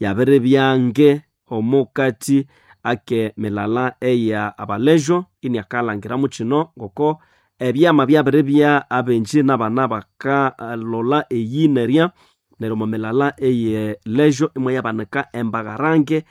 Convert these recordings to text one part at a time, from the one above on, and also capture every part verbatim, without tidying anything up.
yabere byange omukati ake milala eya abalejo iniakalangiramu kino ngoko ebyama byabere bya abenji n'abana bakalola eyi nerya neryo omo milala eye lejo imwe yabanika embagarange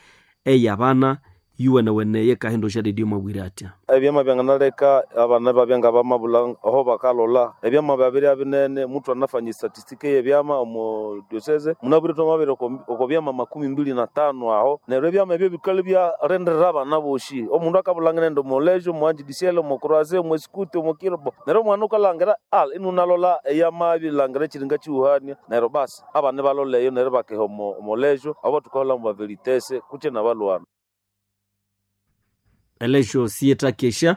ey'abana yuwenewene yekahindo syadidio mwabwire atya. Ebyama byanganaleka abana babya nga bamabulha aho bakalola ebyama byabirya binene muthu anafanya statistiki y'ebyama omo diocese munabwire twamabiri oko byama makumi mbili na tano aho neryo ebyama ebyo bikali byarenderera abana boshi omundu akabulha nende omulejo omuanjidisiele omukroise omwesikuti omukirobo neryo omwana ukalangira al inunalola eyama ebilangira ekiringa kiwuhania neryo basi abana ibalola eyo neryo bakeha omo omulejo abo thukaholha mu baveritese kutse nabalwana. Elejo siyetakesha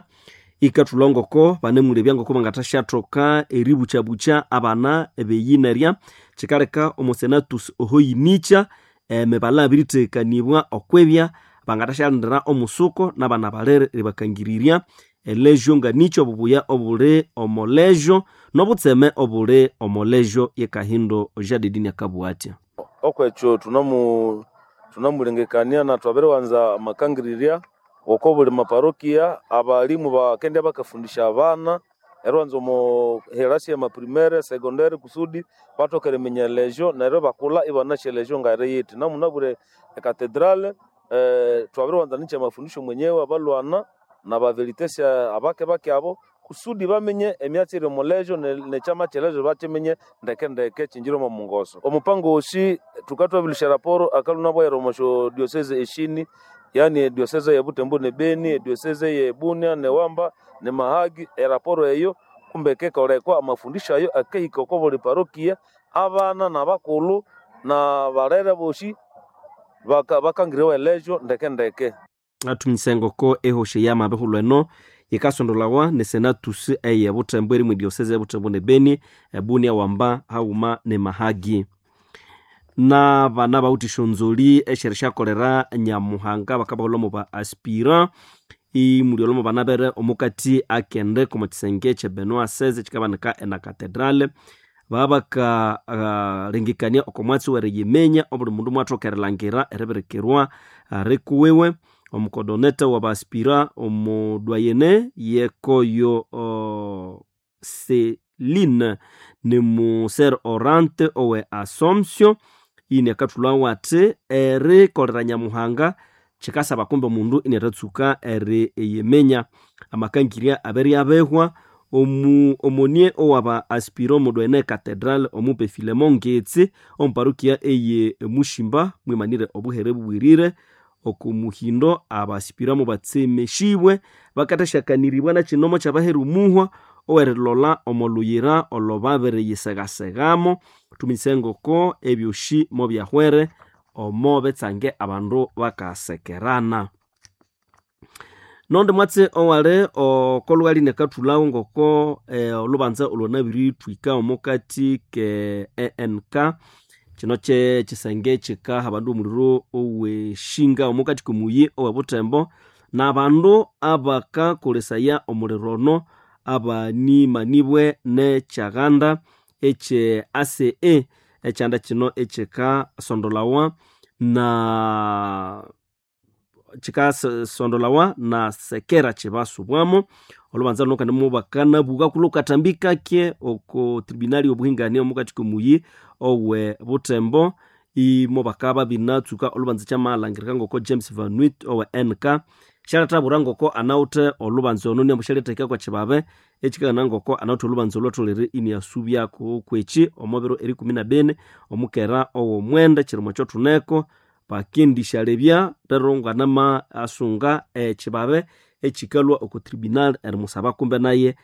ikathulha ngoko banemulebya ngoko bangathasyathoka eribukyabukya abana ebeyinerya kikaleka omosenatus ohoyinicha emibala yabirithekanibwa okwibya bangathasyalindira omusuko nabana balere eribakangirirya elejo nganicho obubuya obuli omolejo nobutseme obuli omolejo yekahindo jadidini akabugha atya. Okwekyo thunamu thunamulengekania na thwabiriwanza amakangirirya oko buli maparokia abalimu bakendya bakafundisha abana eriwanza omo herasi ya maprimere secondary kusudi bathoke eriminya elejo neryo ibakulha ibanasi elejo ngayiri namunabwire ekatedrale eh, twabiriwanza nikya mafundisho mwenyewe abalwana nabaveritesi abake bake abo kusudi bamenye emyatsi eri omulejo nekyama kyelejo bakimenye ndeke ndeke kinjire omo mungoso omupango osi thukatwabilusya raporo akaluna bwayira omo syo diocese eshini yani ediocese ye Butembo ne Beni ediocese ye Bunia ne Wamba ne Mahagi eraporo eyo kumbe kekolekwa amafundisho ayo akehika oko buli parokia abana nabakulhu na balere bosi bakangiriwa elejo ndeke ndeke. Athuminyisa engoko ehosha eyamabihulhu eno yikasondolawa ne senatus eye Butembo eri mwe diocese ye Butembo ne Beni ebunia Wamba haghuma ne Mahagi. N'abana bawithe esyonzoli esyerisyakolera Nyamuhanga bakabahulha omo ba aspirant imuli omo bana bere omukati akende omo kisenge kye Benoit seize kikabanika ena cathedrale babaka uh, oko mwatsi weriyiminya obuli mundu mwathoka erilhangira eribirikirwa rikuwiwe omukodoneta wa ba aspirant omu doyene yekoyo uh, Celine ni muser orante owe Assomption ini akathulhawo athi erikolera Nyamuhanga kikasaba kumbe omundu iniathatsuka eriyiminya amakangirya abiriabihwa omu omonie owaba aspirant omudoyene cathedral omupe Filemon Ngetsi omuparokia eye Mushimba mwimanire obuhere bubwirire oko muhindo abaspirant mubatsemeshibwe bakathasyakaniribwa nakinomo kyabahera omuhwa owerilolha omolhuyira olwababiriyisegasegamo thuminyise ngoko ebyosi mobyahwere omo betsange abandu bakasekerana. Nondi mwatsi owali okolhughali nakathulhawo ngoko eh, olhubanza olwanabirithwika omukati ke E N K kino kye kisenge kikaha abandu omuliro oweshinga omukati komuyi owe Butembo n'abandu abakakolesaya omuliro ono abanimanibwe nekyaganda ekye A C E ekyanda kino ekyikasondolawa na kikasondolawa na sekera kibasubwamo olubanza luno kandi mubakanabuka kulukathambi kake oko tribunali obuhingania omukati komuyi owe Butembo imo bakaba binatsuka olubanza kyamalhangirika ngoko James Van Wyt owe N K syalethabwira ngoko anawithe olubanza ono niambu syalithekya kwa kibabe ekikangana ngoko anawithe olubanza olwatholere iniasubyako kweki omo biro erikumi na bini omukera ow'omwenda kirimo ekyothuneko bakendishalebya rero nganama asunga ekibabe ekikalhwa oko tribunal erimusaba kumbe naye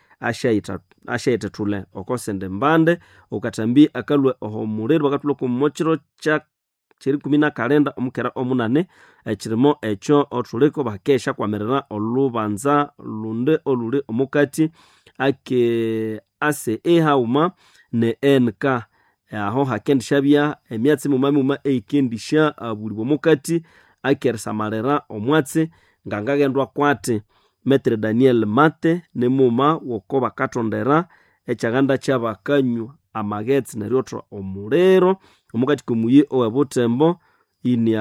asyayithethule oko sende mbande okathambi akalhwa oho muliro bakathulha omo kiro kya kyerikumi na kalenda omukera omunane ekirimo ekyo othuliko bakeshyakwamirira olubanza lundi oluli omukati ake A C E haghuma ne N K aho hakendisyabya emyatsi muma muma eyikendisya abulibwa omukati akerisamalira omwatsi ngangaghendwa kwati Metre Daniel Mate nimuma woko bakathondera ekyaghanda kyabakanywa amaghetse neryotha omuliro omukati komuyi owe Butembo inia.